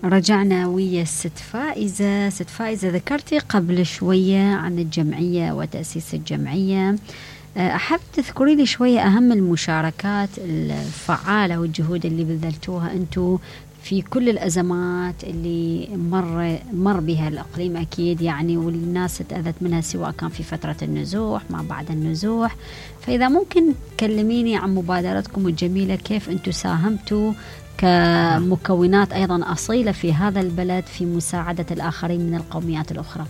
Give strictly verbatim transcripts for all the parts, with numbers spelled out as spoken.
رجعنا ويا الست فائزة. ست فائزة، ذكرتي قبل شوية عن الجمعية وتأسيس الجمعية، أحب تذكري لي شوية أهم المشاركات الفعالة والجهود اللي بذلتوها أنتو في كل الأزمات اللي مر مر بها الإقليم أكيد يعني، والناس تأذت منها سواء كان في فترة النزوح ما بعد النزوح. فإذا ممكن تكلميني عن مبادرتكم الجميلة، كيف أنتو ساهمتوا كمكونات أيضا أصيلة في هذا البلد في مساعدة الآخرين من القوميات الأخرى.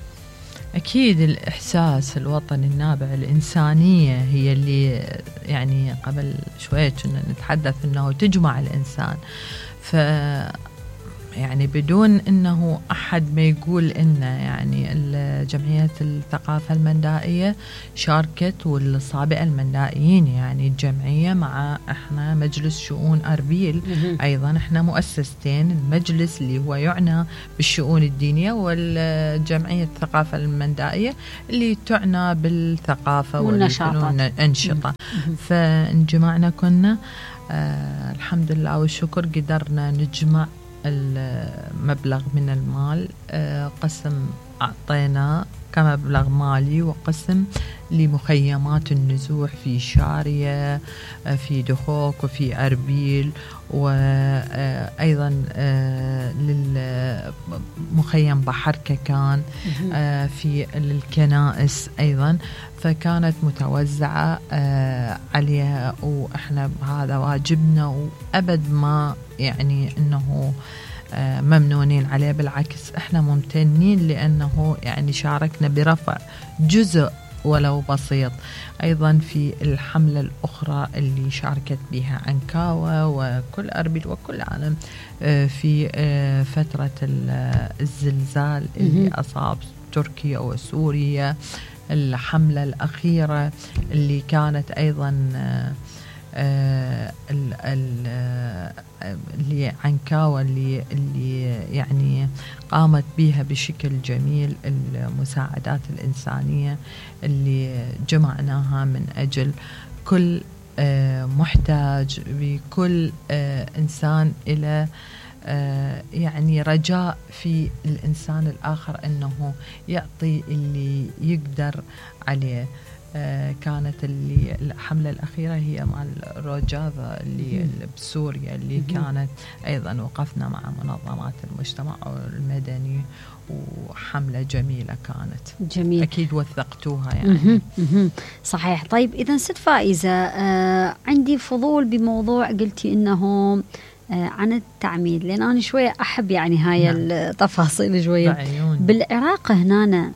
أكيد الإحساس الوطني النابع، الإنسانية هي اللي يعني قبل شوية كنا نتحدث أنه تجمع الإنسان. ف يعني بدون أنه أحد ما يقول إنه يعني جمعية الثقافة المندائية شاركت، والصابئة المندائيين يعني الجمعية مع إحنا مجلس شؤون أربيل أيضا، إحنا مؤسستين، المجلس اللي هو يعنى بالشؤون الدينية، والجمعية الثقافة المندائية اللي تعنى بالثقافة والأنشطة. فانجمعنا كنا آه الحمد لله والشكر قدرنا نجمع المبلغ من المال، قسم أعطينا كمبلغ مالي وقسم لمخيمات النزوح في شارية، في دخوك وفي أربيل، وأيضا للمخيم بحر ككان في الكنائس أيضا. فكانت متوزعة عليها، وإحنا هذا واجبنا، وأبد ما يعني أنه ممنونين عليه، بالعكس إحنا ممتنين لأنه يعني شاركنا برفع جزء ولو بسيط. أيضا في الحملة الأخرى اللي شاركت بها عنكاوة وكل أربيل وكل العالم في فترة الزلزال اللي أصاب تركيا وسوريا، الحملة الأخيرة اللي كانت أيضا آه ال ال اللي عنكاوة اللي اللي يعني قامت بها بشكل جميل، المساعدات الإنسانية اللي جمعناها من أجل كل آه محتاج، بكل آه إنسان إلى آه يعني رجاء في الإنسان الآخر أنه يعطي اللي يقدر عليه. آه كانت اللي الحملة الأخيرة هي مع الروجاذا اللي بسوريا، اللي كانت أيضا وقفنا مع منظمات المجتمع المدني، وحملة جميلة كانت. جميل. أكيد وثقتوها يعني. صحيح. طيب إذا ست فائزة، آه عندي فضول بموضوع قلتي إنه آه عن التعميد، لأن أنا شوية أحب يعني هاي نعم. التفاصيل شوية. بعيون. بالعراق هنا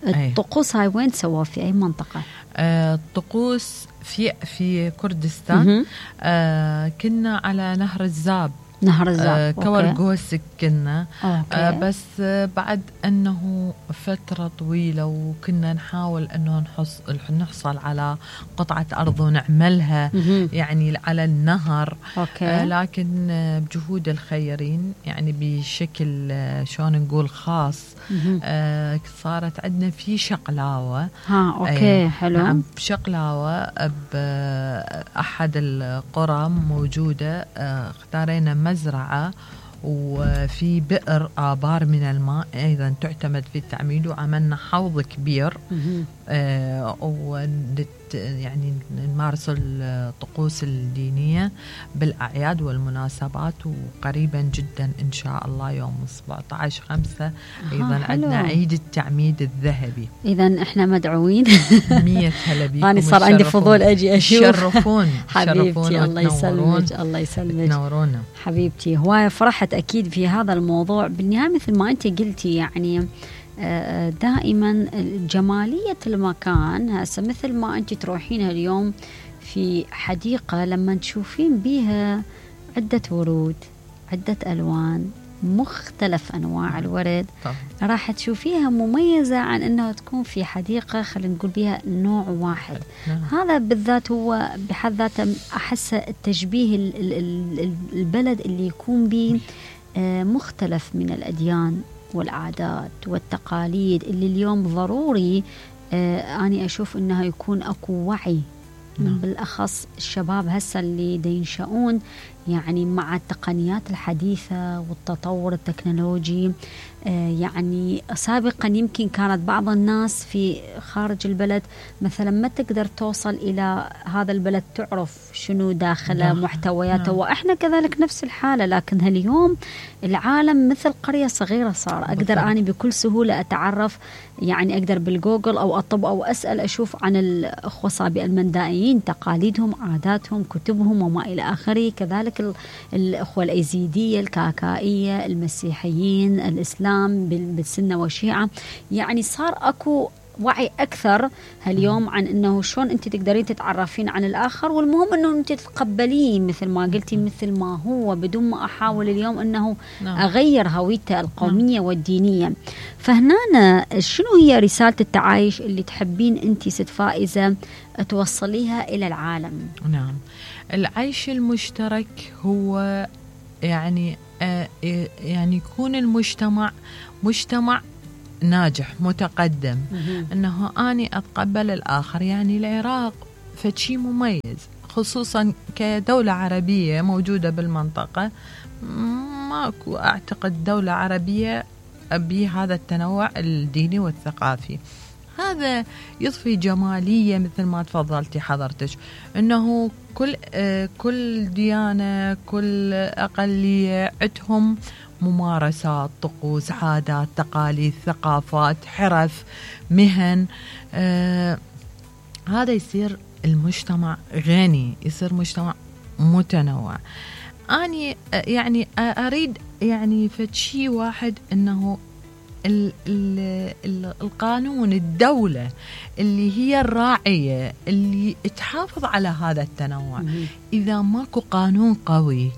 الطقوس هاي وين تسوى، في أي منطقة؟ آه الطقوس في في كردستان. آه كنا على نهر الزاب. نهر الزاب. آه كورغوسك كنا. آه بس آه بعد أنه فترة طويلة وكنا نحاول أنه نحص نحصل على قطعة أرض ونعملها يعني على النهر. آه لكن آه بجهود الخيرين يعني بشكل آه شلون نقول خاص، آه صارت عندنا في شقلاوة. ها أوكي آه حلو. نعم بشقلاوة بأحد القرى موجودة، آه اختارينا مزرعة وفي بئر آبار من الماء أيضا تعتمد في التعميد، وعملنا حوض كبير آه ونت يعني نمارس الطقوس الدينية بالأعياد والمناسبات. وقريبا جدا إن شاء الله يوم سبعة عشر خمسة أيضا عندنا عيد التعميد الذهبي. إذا إحنا مدعوين. مية هلا بيكم. أنا صار عندي فضول أجي أشوف. شرفون حبيبتي. الله يسلمك. الله يسلمك. تنورونا حبيبتي. هواية فرحت أكيد في هذا الموضوع. بالنهاية مثل ما أنت قلتي يعني دائما جمالية المكان، هسه مثل ما أنت تروحين اليوم في حديقة لما تشوفين بيها عدة ورود، عدة ألوان، مختلف أنواع الورد، راح تشوفيها مميزة عن أنها تكون في حديقة خلينا نقول بيها نوع واحد. هذا بالذات هو بحد ذاته أحس التشبيه البلد اللي يكون به مختلف من الأديان والعادات والتقاليد، اللي اليوم ضروري آه أنا أشوف أنها يكون أكو وعي. نعم. بالأخص الشباب هسه اللي ينشأون يعني مع التقنيات الحديثة والتطور التكنولوجي. يعني سابقا يمكن كانت بعض الناس في خارج البلد مثلا ما تقدر توصل إلى هذا البلد تعرف شنو داخله محتوياته، وإحنا كذلك نفس الحالة. لكن هاليوم العالم مثل قرية صغيرة صار، أقدر أنا بكل سهولة أتعرف، يعني أقدر بالجوجل أو أطب أو أسأل أشوف عن الأخوة الصابئة المندائيين، تقاليدهم، عاداتهم، كتبهم وما إلى آخره. كذلك الأخوة الأيزيدية، الكاكائية، المسيحيين، الإسلام بالسنة والشيعة. يعني صار أكو وعي أكثر هاليوم عن أنه شلون أنت تقدرين تتعرفين عن الآخر، والمهم أنه أنت تتقبلين مثل ما قلتي مثل ما هو، بدون ما أحاول اليوم أنه أغير هويته القومية والدينية. فهنا شنو هي رسالة التعايش اللي تحبين أنت ست فائزة توصليها إلى العالم؟ نعم، العيش المشترك هو يعني آه يعني يكون المجتمع مجتمع ناجح متقدم، أنه أني أتقبل الآخر. يعني العراق فشي مميز، خصوصا كدولة عربية موجودة بالمنطقة، ماكو أعتقد دولة عربية بهذا التنوع الديني والثقافي. هذا يضفي جمالية مثل ما تفضلتي حضرتك، أنه كل آه كل ديانة، كل أقلية عندهم ممارسات، طقوس، عادات، تقاليد، ثقافات، حرف، مهن. آه هذا يصير المجتمع غني، يصير مجتمع متنوع. أني يعني أريد يعني فشي واحد، أنه ال ال ال القانون، الدولة اللي هي الراعية اللي تحافظ على هذا التنوع. إذا ماكو قانون قوي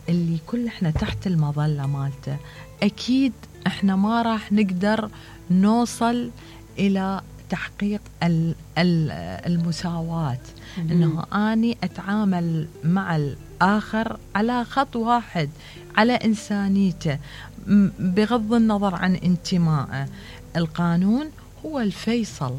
اللي كل احنا تحت المظلة مالته، أكيد احنا ما راح نقدر نوصل إلى تحقيق ال ال المساواة. أنه أني أتعامل مع الآخر على خط واحد، على إنسانيته، بغض النظر عن انتمائه. القانون هو الفيصل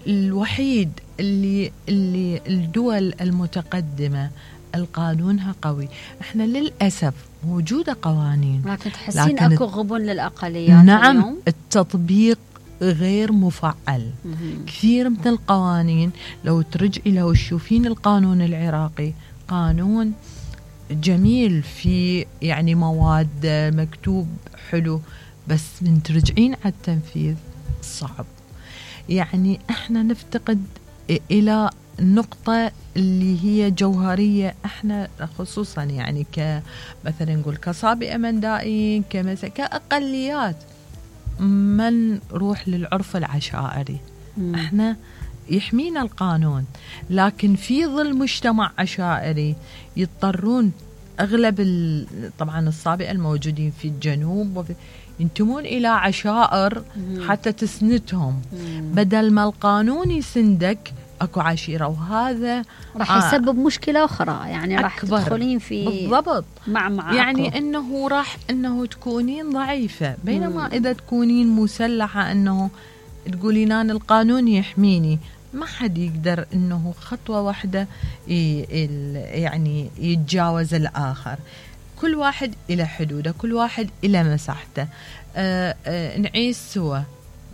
الوحيد اللي اللي الدول المتقدمة القانونها قوي. احنا للأسف موجودة قوانين، لكن تحسين اكو غبن للأقليات. نعم، اليوم التطبيق غير مفعل. مم. كثير من القوانين لو ترجعي لو تشوفين القانون العراقي، قانون جميل في يعني مواد مكتوب حلو، بس من ترجعين على التنفيذ صعب. يعني احنا نفتقد الى نقطة اللي هي جوهرية. احنا خصوصا يعني كمثلا نقول كصابئة مندائيين، كمثلا كأقليات، من نروح للعرف العشائري. مم. احنا يحمينا القانون، لكن في ظل مجتمع عشائري يضطرون أغلب طبعا الصابئة الموجودين في الجنوب وفي ينتمون إلى عشائر حتى تسندهم، بدل ما القانون يسندك اكو عشيرة، وهذا راح يسبب مشكلة أخرى. يعني راح تدخلين في بالضبط مع مع يعني أكبر. إنه راح إنه تكونين ضعيفة، بينما مم. إذا تكونين مسلحة، إنه تقولين أنا القانون يحميني، ما حد يقدر إنه خطوة واحدة يعني يتجاوز الآخر. كل واحد إلى حدوده، كل واحد إلى مساحته. آآ آآ نعيش سوا،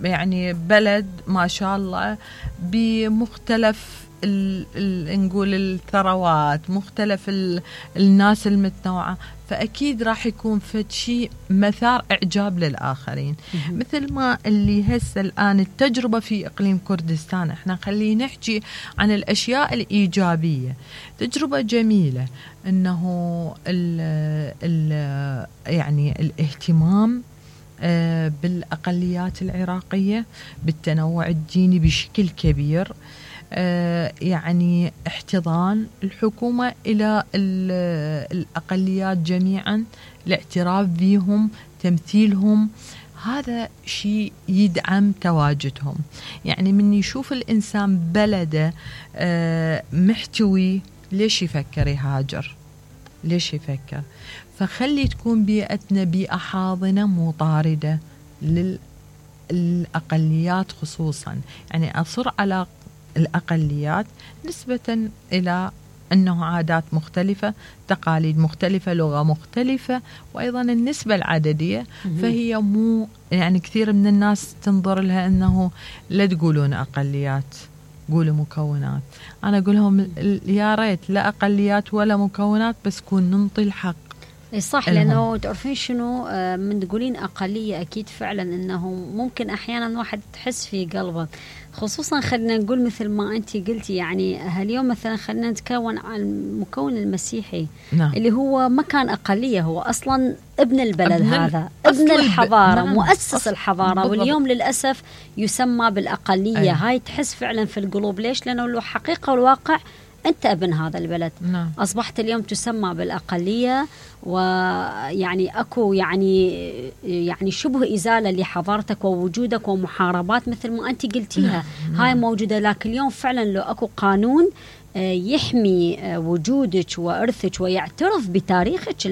يعني بلد ما شاء الله بمختلف ال ال نقول الثروات، مختلف ال الناس المتنوعة، فأكيد راح يكون فد شيء مثار إعجاب للآخرين. مثل ما اللي هسه الآن التجربة في إقليم كردستان، احنا خلينا نحكي عن الأشياء الإيجابية. تجربة جميلة، إنه ال ال يعني الاهتمام بالأقليات العراقية، بالتنوع الديني بشكل كبير، يعني احتضان الحكومة إلى الأقليات جميعا، الاعتراف بهم، تمثيلهم، هذا شيء يدعم تواجدهم. يعني من يشوف الإنسان بلده محتوي، ليش يفكر يهاجر؟ ليش يفكر؟ فخلي تكون بيئتنا بيئة حاضنة مو طاردة للأقليات خصوصا. يعني أصر على الأقليات نسبة إلى أنه عادات مختلفة، تقاليد مختلفة، لغة مختلفة، وأيضا النسبة العددية. فهي مو يعني كثير من الناس تنظر لها أنه لا تقولون أقليات، قولوا مكونات. أنا أقول لهم يا ريت لا أقليات ولا مكونات، بس كون ننطي الحق. صح، لأنه تعرفين شنو من تقولين أقلية أكيد فعلا أنه ممكن أحيانا واحد تحس في قلبه، خصوصا خلينا نقول مثل ما أنت قلتي يعني هاليوم مثلا خلينا نتكون عن المكون المسيحي. نعم. اللي هو ما كان أقلية، هو أصلا ابن البلد، ابن هذا ابن الحضارة، نعم. مؤسس الحضارة، بالضبط. واليوم للأسف يسمى بالأقلية. أي. هاي تحس فعلا في القلوب. ليش؟ لأنه له حقيقة والواقع أنت ابن هذا البلد. نعم. أصبحت اليوم تسمى بالأقلية، ويعني أكو يعني يعني شبه إزالة لحضارتك ووجودك ومحاربات مثل ما أنت قلتيها. نعم. هاي موجودة، لكن اليوم فعلا لو أكو قانون يحمي وجودك وإرثك ويعترف بتاريخك،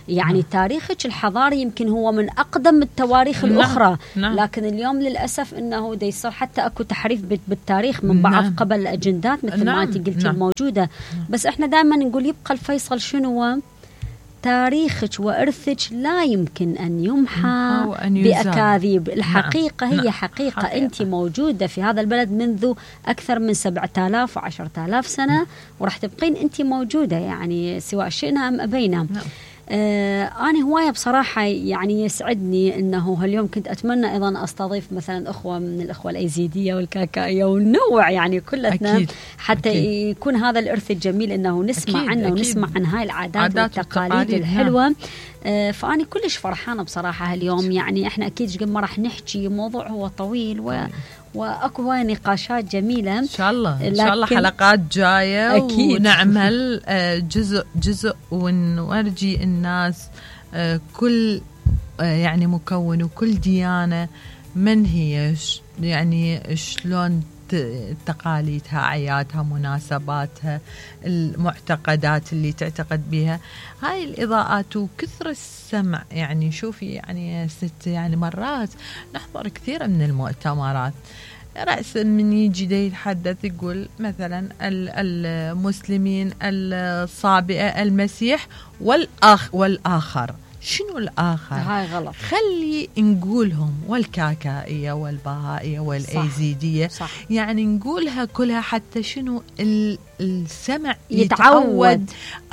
يعني نعم. تاريخك الحضاري يمكن هو من أقدم التواريخ نعم. الأخرى. نعم. لكن اليوم للأسف أنه دا يصير حتى أكو تحريف بالتاريخ من بعض نعم. قبل الأجندات مثل نعم. ما أنت قلتي نعم. الموجودة. نعم. بس إحنا دائما نقول يبقى الفيصل شنو؟ تاريخك وإرثك لا يمكن أن يمحى بأكاذيب. الحقيقة نعم. هي نعم. حقيقة. حقيقة أنت موجودة في هذا البلد منذ أكثر من سبعة آلاف وعشرة آلاف سنة، نعم. ورح تبقين أنت موجودة يعني سواء شئنا أم أبينا. نعم. آه أنا هواية بصراحة يعني يسعدني أنه هاليوم كنت أتمنى أيضا أستضيف مثلا أخوة من الأخوة الأيزيدية والكاكائية ونوع يعني كلتنا أكيد. حتى أكيد. يكون هذا الإرث الجميل أنه نسمع أكيد. عنه أكيد. ونسمع عن هاي العادات والتقاليد الحلوة. نعم. آه فأنا كلش فرحانة بصراحة هاليوم. يعني إحنا أكيد قبل ما راح نحكي موضوع هو طويل و واكو هواي نقاشات جميله ان شاء الله. ان شاء الله حلقات جايه أكيد. ونعمل جزء جزء ونورجي الناس كل يعني مكون وكل ديانه من هي، يعني شلون تقاليدها، اعيادها، مناسباتها، المعتقدات اللي تعتقد بها. هاي الاضاءات وكثر السمع. يعني شوفي يعني ست يعني مرات نحضر كثير من المؤتمرات، رأسا من يجي دي يتحدث يقول مثلا المسلمين، الصابئة، المسيح والآخ والآخر. شنو الآخر؟ هاي غلط. خلي نقولهم والكاكائية والبهائية والأيزيدية. صح. صح. يعني نقولها كلها حتى شنو السمع يتعود,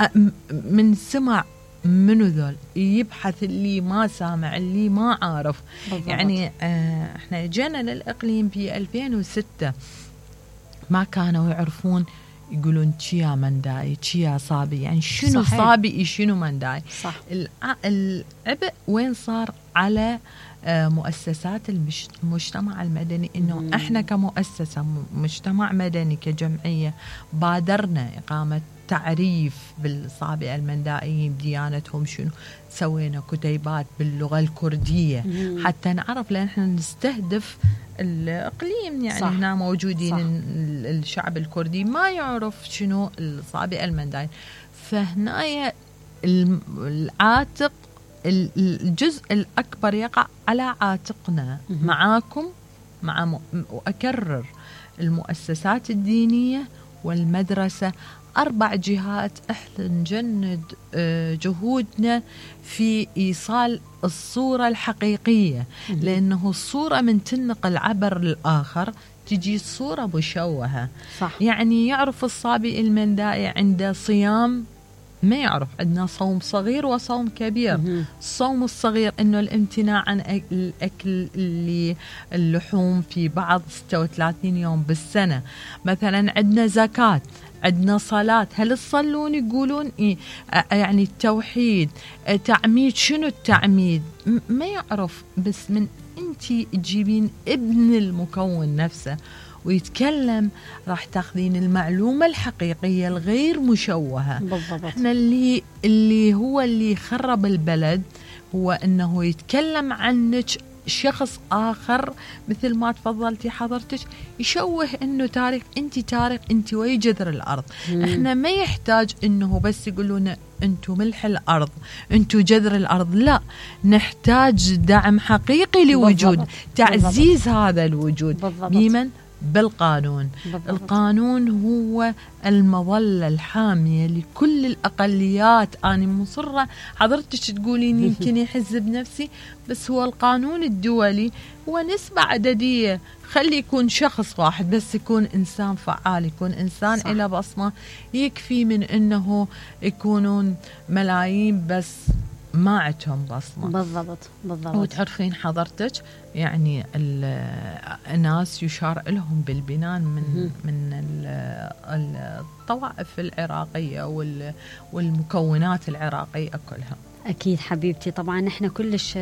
يتعود من سمع منو ذول، يبحث اللي ما سامع، اللي ما عارف. بالضبط. يعني آه احنا جينا للإقليم في ألفين وستة ما كانوا يعرفون، يقولون تشيا منداي تشيا صابي، يعني شنو صحيح. صابي شنو منداي. صح. العبء وين صار على مؤسسات المجتمع المدني، انه مم. احنا كمؤسسة مجتمع مدني كجمعية بادرنا إقامة تعريف بالصابئة المندائيين بديانتهم شنو، سوينا كتيبات باللغة الكردية مم. حتى نعرف، لأن احنا نستهدف الإقليم يعني. صح. هنا موجودين. صح. الشعب الكردي ما يعرف شنو الصابئة المندائية، فهنا العاتق الجزء الأكبر يقع على عاتقنا مم. معاكم مع م... وأكرر المؤسسات الدينية والمدرسة، أربع جهات إحنا نجند جهودنا في إيصال الصورة الحقيقية، لأنه الصورة من تنقل عبر الآخر تجي صورة مشوهة. صح. يعني يعرف الصابئ المندائي عنده صيام، ما يعرف عندنا صوم صغير وصوم كبير. مم. الصوم الصغير إنه الامتناع عن الأكل اللي اللحوم في بعض ستة وثلاثين يوم بالسنة. مثلا عندنا زكاة، عندنا صلاة، هل تصلون؟ يقولون إيه؟ يعني التوحيد، تعميد. شنو التعميد؟ ما يعرف. بس من أنتي تجيبين ابن المكون نفسه ويتكلم، راح تاخذين المعلومة الحقيقية الغير مشوهة. بالضبط. احنا اللي اللي هو اللي خرب البلد هو انه يتكلم عنك شخص آخر، مثل ما تفضلتي حضرتك، يشوه انه تاريخ. انت تاريخ، انت وي جذر الارض. مم. احنا ما يحتاج انه بس يقولون انتو ملح الارض، انتو جذر الارض، لا، نحتاج دعم حقيقي لوجود. بالضبط. تعزيز بالضبط. هذا الوجود. بالضبط. بمن؟ بالقانون. بالضبط. القانون هو المظلة الحامية لكل الأقليات. أنا مصرة حضرتك تقولين يمكن يحز بنفسي، بس هو القانون الدولي هو نسبة عددية. خلي يكون شخص واحد بس يكون إنسان فعال، يكون إنسان إلى بصمة، يكفي من أنه يكونون ملايين بس ما عندهم بصمة. بالضبط بالضبط. وتعرفين حضرتك يعني الناس يشار لهم بالبنان من من الطوائف العراقية والمكونات العراقية كلها. أكيد حبيبتي، طبعا نحن كلش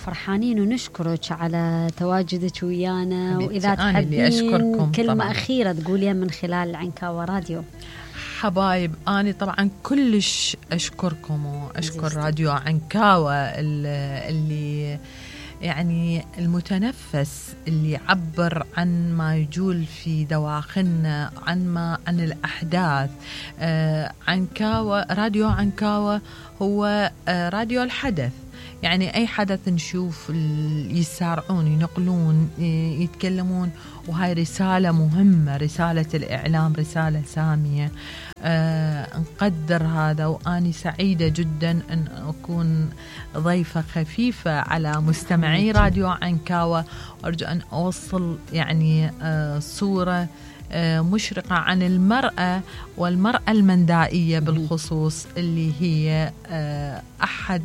فرحانين ونشكرك على تواجدك ويانا، وإذا تحبين كلمة طبعاً أخيرة تقوليها من خلال عنكاوة راديو. حبايب، أنا طبعا كلش أشكركم وأشكر راديو عنكاوة اللي يعني المتنفس اللي يعبر عن ما يجول في دواخلنا، عن ما عن الأحداث. آه عنكاوة، راديو عنكاوة هو آه راديو الحدث. يعني أي حدث نشوف يسارعون ينقلون يتكلمون، وهاي رسالة مهمة، رسالة الإعلام، رسالة سامية. آه نقدر هذا، وأني سعيدة جدا أن أكون ضيفة خفيفة على مستمعي راديو عنكاوة، وأرجو أن أوصل يعني آه صورة آه مشرقة عن المرأة والمرأة المندائية بالخصوص، اللي هي آه أحد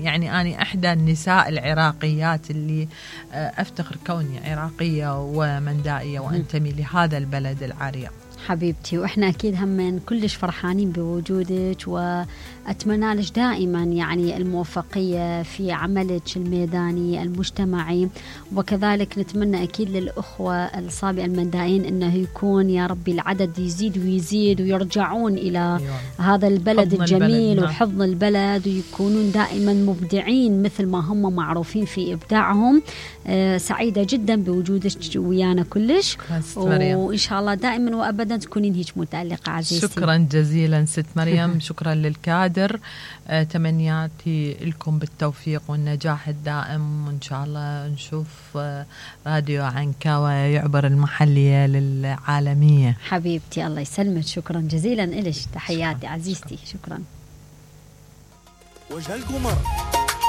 يعني أنا إحدى النساء العراقيات اللي أفتخر كوني عراقية ومندائية وأنتمي لهذا البلد العريق. حبيبتي، وإحنا أكيد هم كلش فرحانين بوجودك، وأتمنى لك دائما يعني الموفقية في عملك الميداني المجتمعي، وكذلك نتمنى أكيد للأخوة الصابئة المندائين أنه يكون يا ربي العدد يزيد ويزيد، ويرجعون إلى أيوة. هذا البلد الجميل البلد. وحضن البلد، ويكونون دائما مبدعين مثل ما هم معروفين في إبداعهم. آه سعيدة جدا بوجودك ويانا كلش، وإن شاء الله دائما وأبدا تكونين هيك متألقة عزيزتي. شكرا جزيلا ست مريم. شكرا للكادر. آه تمنياتي لكم بالتوفيق والنجاح الدائم، وإن شاء الله نشوف آه راديو عنكاوة يعبر المحلية للعالمية. حبيبتي الله يسلمك، شكرا جزيلا إلش. تحياتي شكرا. عزيزتي، شكرا. وجه القمر